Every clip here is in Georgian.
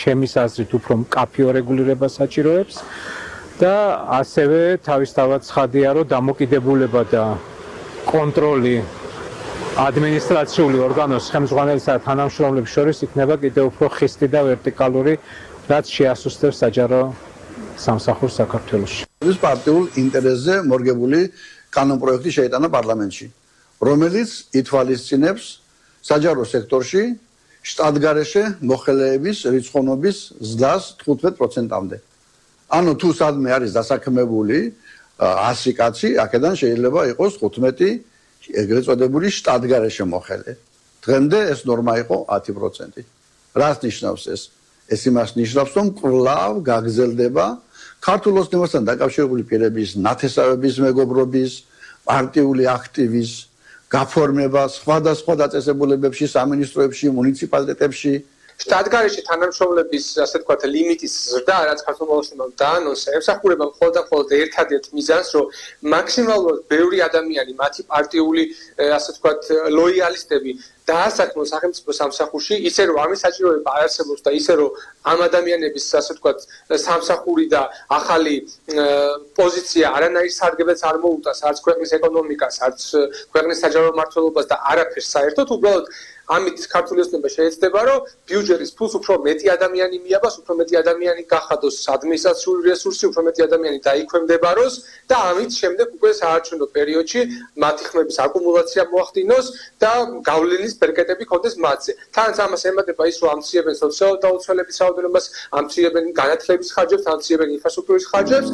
ჩემის აზრით უფრო მკაფიო რეგულირება საჭიროებს და ასევე თავისთავად ცხადია, რომ დამოკიდებულება და კონტროლი ადმინისტრაციული ორგანოს ხელმძღვანელისა და თანამშრომლების შორის იქნება კიდევ უფრო ხისტი და ვერტიკალური, რაც შეასუსტებს საჯარო სამსახურს საქართველოში. ეს პარტიულ ინტერესზე მორგებული კანონპროექტი შეიტანა პარლამენტში, რომელიც ითვალისწინებს საჯარო სექტორში შტატგარეშე მოხელეების რიცხოვნობის ზრდას 15%-მდე. ანუ თუ სადმე არის დასაქმებული 100 კაცი, აქედან შეიძლება იყოს 15 ეგრეთ წოდებული შტატგარეშე მოხელე. დღემდე ეს ნორმა იყო 10%. რას ნიშნავს ეს? ეს იმას ნიშნავს, რომ კვლავ გაგრძელდება ქართულ ოცნებასთან დაკავშირებული პირების ნათესავების მეგობრობის, პარტიული აქტივის გაფორმება სხვადასხვა დაწესებულებებში, სამინისტროებში, მუნიციპალიტეტებში. შტატგარეშე თანამშრომლების, ასე ვთქვათ, ლიმიტის ზრდა, რაც ქართულში დაანონსა, ემსახურება მხოლოდ ერთადერთ მიზანს, რომ მაქსიმალურად ბევრი ადამიანი, მათი პარტიული, ასე ვთქვათ, ლოიალისტები დაასაქმონ სახელმწიფო სამსახურში, ისე რომ ამის საჭიროება არ არსებობს და ისე რომ ამ ადამიანების, ასე ვთქვათ, სამსახური და ახალი პოზიცია არანაირ სარგებელს არ მოუტანს არც ქვეყნის ეკონომიკას, არც ქვეყნის საჯარო მმართველობას და არაფერს საერთოდ, უბრალოდ ამით ქართული ოცნება შეეცდება, რომ ბიუჯეტის ფულს უფრო მეტი ადამიანი მიაბას, უფრო მეტი ადამიანი გახადოს ადმინისტრაციული რესურსი, უფრო მეტი ადამიანი დაიქვემდებაროს და ამით შემდეგ უკვე საარჩევნო პერიოდში მათი ხმების აკუმულაცია მოახდინოს და გავლენის ბერკეტები ქონდეს მათზე. თანაც ამას ემატება ის, რომ ამცირებენ სოციალურ დაუცველების რაოდენობას, ამცირებენ განათლების ხარჯებს, ამცირებენ ინფრასტრუქტურის ხარჯებს.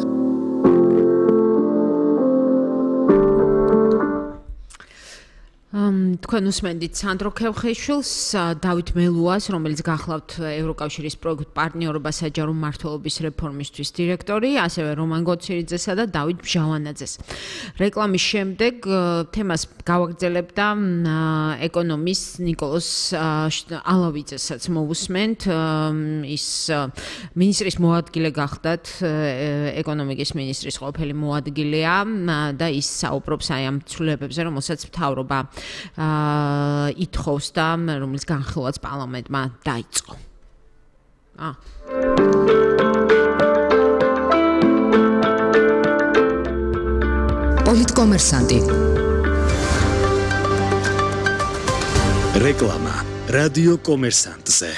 თქვენ უსმენთ სანდრო ქევხეიშვილს, დავით მელუას, რომელიც გახლავთ ევროკავშირის პროექტ პარტნიორობა საჯარო მმართველობის რეფორმისთვის დირექტორი, ასევე რომან გოცირიძესა და დავით ბჟავანაძეს. რეკლამის შემდეგ თემას გავაგრძელებთ და ეკონომის ნიკოლოზ ალავიძესაც მოვუსმენთ. ის მინისტრის მოადგილე გახდათ, ეკონომიკის მინისტრის ყოფილი მოადგილეა და ის საუბრობს აი ამ ცვლილებებზე, რომელსაც მთავრობა ითხოვს და რომელიც განხილვაც პარლამენტმა დაიწყო. პოლიტკომერსანტი. რეკლამა რადიო კომერსანტზე.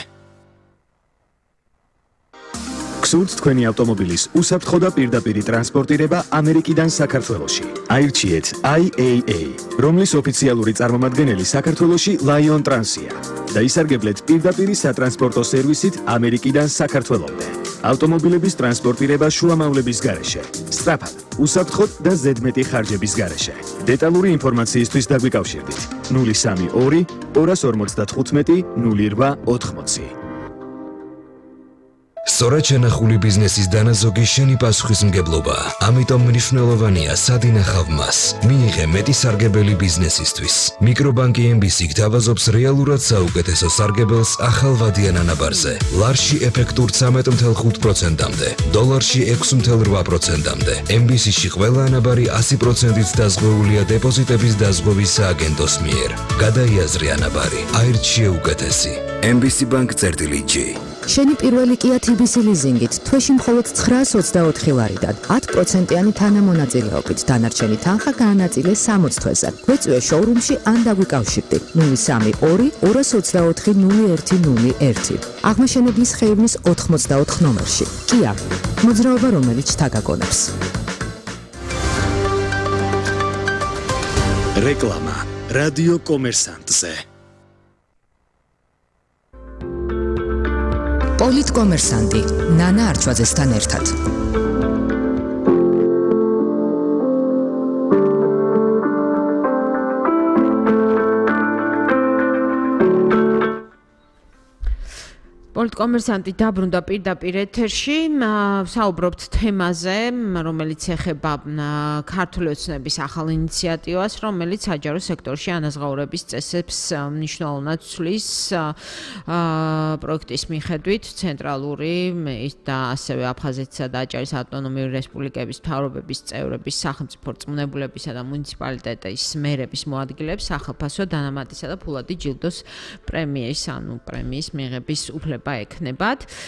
გსურთ თქვენი ავტომობილის უსაფრთხო და პირდაპირი ტრანსპორტირება ამერიკიდან საქართველოში. აირჩიეთ IAA, რომლის ოფიციალური წარმომადგენელი საქართველოში Lion Trans-ია და ისარგებლეთ პირდაპირი სატრანსპორტო სერვისით ამერიკიდან საქართველომდე. ავტომობილების ტრანსპორტირება შუამავლების გარეშე, სწრაფად, უსაფრთხოდ და ზედმეტი ხარჯების გარეშე. დეტალური ინფორმაციისთვის დაგვიკავშირდით 032 255 0880. სწორად შენახული ბიზნესის დანაზოგი შენი პასუხისმგებლობა. ამიტომ მნიშვნელოვანია სად ინახავ მას. მიიღე მეტი სარგებელი ბიზნესისთვის. მიკრობანკი MBC გთავაზობს რეალურად საუკეთესო სარგებელს ახალ ვადიან ანაბარზე. ლარში ეფექტურ 13.5%-მდე, დოლარში 6.8%-მდე. MBC-ში ყველა ანაბარი 100%-ით დაზღვეულია დეპოზიტების დაზღვევის სააგენტოს მიერ. გადაიაზრე ანაბარი. აირჩიე უკეთესი. MBC Bank-G. შენი პირველი Kia TBC ლიზინგით თვეში მხოლოდ 924 ლარიდან 10%-იანი თანამონაწილეობით დანარჩენი თანხა გაანაწილე 60 თვეზე. გვეწვიე შოურუმში ან დაგვიკავშირდი 032 224 0101. აღმაშენებლის ხეივნის 84 ნომერში. Kia, მოძრაობა რომელიც თაგაგონებს. რეკლამა რადიო კომერსანტზე. პოლიტკომერსანტი ნანა არჩვაძესთან ერთად. პოლიტკომერსანტი დაბრუნდა პირდაპირ ეთერში, საუბრობთ თემაზე, რომელიც ეხება ქართული ოცნების ახალ ინიციატივას, რომელიც საჯარო სექტორში ანაზღაურების წესებს მნიშვნელოვნად ცვლის. პროექტის მიხედვით ცენტრალური და ასევე აფხაზეთისა და აჭარის ავტონომიური რესპუბლიკების მთავრობების წევრების, სახელმწიფო რწმუნებულებისა და მუნიციპალიტეტის მერების მოადგილეებს სახელფასო დანამატისა და ფულადი ჯილდოს პრემიის, ანუ პრემიის მიღების უფლება ეკნებათ.